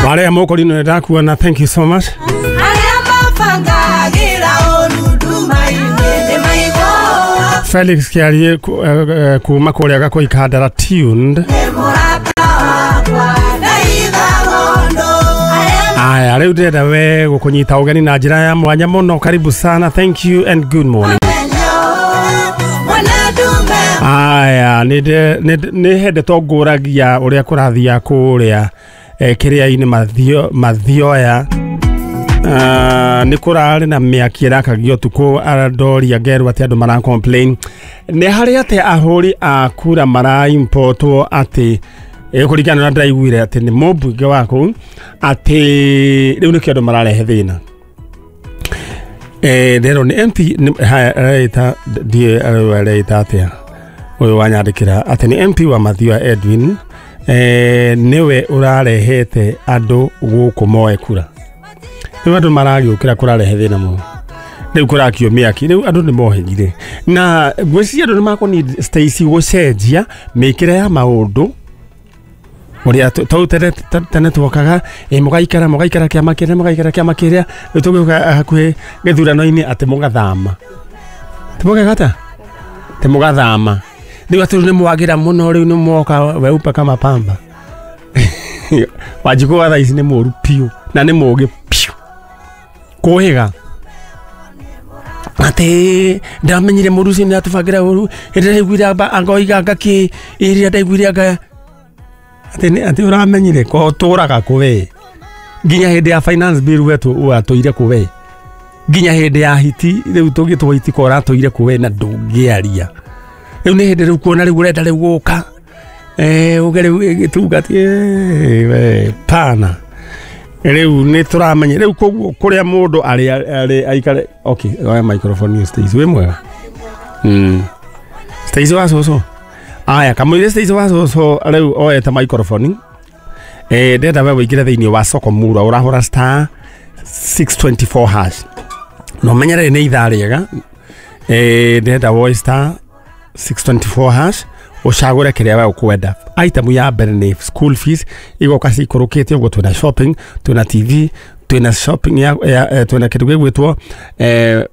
Wale moko lino ndakuona, thank you so much. Arĩa mabangagĩra ũru nduma-inĩ nĩ maigua. Felix Kiarie kuma kũrĩa Gakũi Kandara tuned. Nĩ mũrata wakwa ndaitha ng'ondo arĩa Aya, rĩu ndĩrenda we gũkũnyita ũgeni na njĩra ya mwanya mũno. Karibu sana, thank you and good morning. Mwana ndume. Aya, nĩ hĩndĩ tongũragia ũrĩa kũrathiia kũrĩa kĩrĩa-inĩ mathioya. Nĩ kũrarĩ na mĩaki ĩrakagio ũtukũ, ndoria ngerwo atĩ andũ mara complain nĩ harĩ atĩ ahũri a kura maraimportwo atĩ kũringana na ndĩraiguire atĩ nĩ mũmbunge wa kũu atĩ rĩu nĩkĩo andũ mararehe thĩna. Ndĩrerwo nĩ MP haya, areita ndiĩ areita atĩa ũyũ wanyandĩkĩra atĩ nĩ MP wa Mathioya Edwin, nĩwe ũrarehete andũ gũkũ moe kura. Rĩu andũ maragĩũkĩra kũrarehe thĩna mũno, rĩu kũrakio mĩaki, rĩu andũ nĩ mohĩgire na ngwĩciria andũ nĩ makũni Stacy gũcenjia mĩkĩre ya maũndũ ũrĩa tau tene tene twokaga mũgaikara mũgaikara kĩama kĩrĩa mũgaikara kĩama kĩrĩa, rĩu tũgĩũka hakuhĩ gĩthurano-inĩ atĩ mũgathama timũgeka atĩa mũgathama, rĩu atĩ rĩu nĩ mwagĩra mũno, rĩu nĩ mwoka weupe kama pamba. Wanjikũ wa thaa ici nĩ mũru piũ na nĩ mũgĩ piũ kũhĩga atĩ ndamenyire mũndũ ũcio nĩ atũbangĩra ũru hĩndĩ ndaiguire anga oiga anga kĩ ĩrĩa ndaiguire anga atĩ atĩ ũramenyire ko ũtũraga kũ we nginya hĩndĩ ya finance bill we watũire kũ we nginya hĩndĩ ya hiti rĩu tũgĩtwo hiti ko ũratũire kũ we na ndũngĩaria. Rĩu nĩ hĩndĩ rĩu kuona rĩu ũrenda rĩu gũka uge rĩu ĩgĩtunga ti we pana rĩu nĩ tũramenya rĩu koguo kũrĩa mũndũ arĩ aikare. Okay, oya microphone ĩyo, Stacy, wĩ mwega? Stacy wa cũcũ, aya kamũira Stacy wa cũcũ rĩu oete microphone, ndĩrenda we wĩingĩre thĩinĩ wa soko mura ũrahũra *624# na ũmenye rĩrĩ nĩ ithaa rĩega. Ndĩrenda woe *624# ũcagũre kĩrĩa we ũkwenda. Item ya mbere nĩ school fees igoka cikũrũkĩte ũguo, twĩna shopping, twĩna TV, twĩna shopping ya twĩna kĩndũ gĩgwĩtwo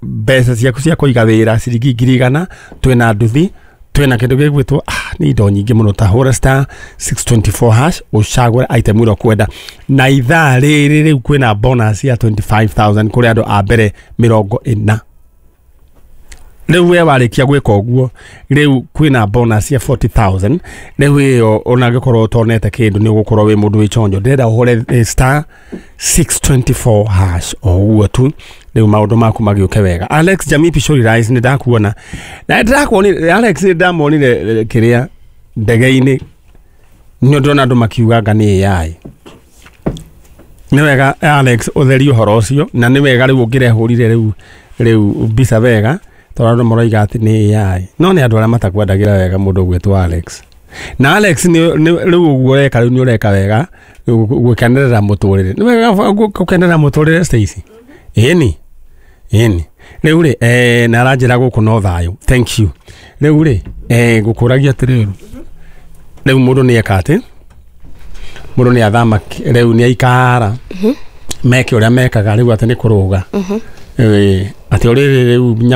mbeca ciaku cia kũiga wĩra ciringi 100,000, twĩna nduthi, twĩna kĩndũ gĩgwĩtwo nĩ indo nyingĩ mũno. Ta hũra *624# ũcagũre item ĩrĩa ũkwenda na ithaa rĩrĩ rĩu kwĩna bonus ya 25,000 kũrĩ andũ a mbere 40. Rĩu we warĩkia gwĩka ũguo rĩu kwĩna bonus ya 40,000. Rĩu ĩyo ona angĩkorwo ũtonete kĩndũ nĩ ũgũkorwo wĩ mũndũ wĩ chonjo. Ndĩrenda ũhũre *624# o ũguo tu rĩu maũndũ maku magĩũke wega. Alex Jamii Pishori Rice, nĩ ndakuona na ndĩrakuonire Alex, nĩ ndamuonire kĩrĩa ndege-inĩ, nĩ ndĩrona andũ makiuga anga nĩ AI. Nĩ wega Alex ũtherie ũhoro ũcio na nĩ wega rĩu ũngĩrehũrire rĩu mbica wega tondũ andũ maroiga atĩ nĩ AI, no nĩ andũ arĩa matakwendagĩra wega mũndũ ũgwĩtwo Alex. Na Alex rĩu ũguo ũreka rĩu nĩ ũreka wega gũkenerera mũtũrĩre, nĩ wega gũkenerera mũtũrĩre Stacy, ĩni ĩni rĩu rĩ na aranjĩra gũkũ no thayũ, thank you. Rĩu rĩ ngũkũragia atĩrĩrĩ, rĩu mũndũ nĩ eka atĩ mũndũ nĩ athama rĩu nĩ aikara meke ũrĩa mekaga rĩu atĩ nĩ kũrũga. Atĩ ũrĩrĩ rĩu nyamũ.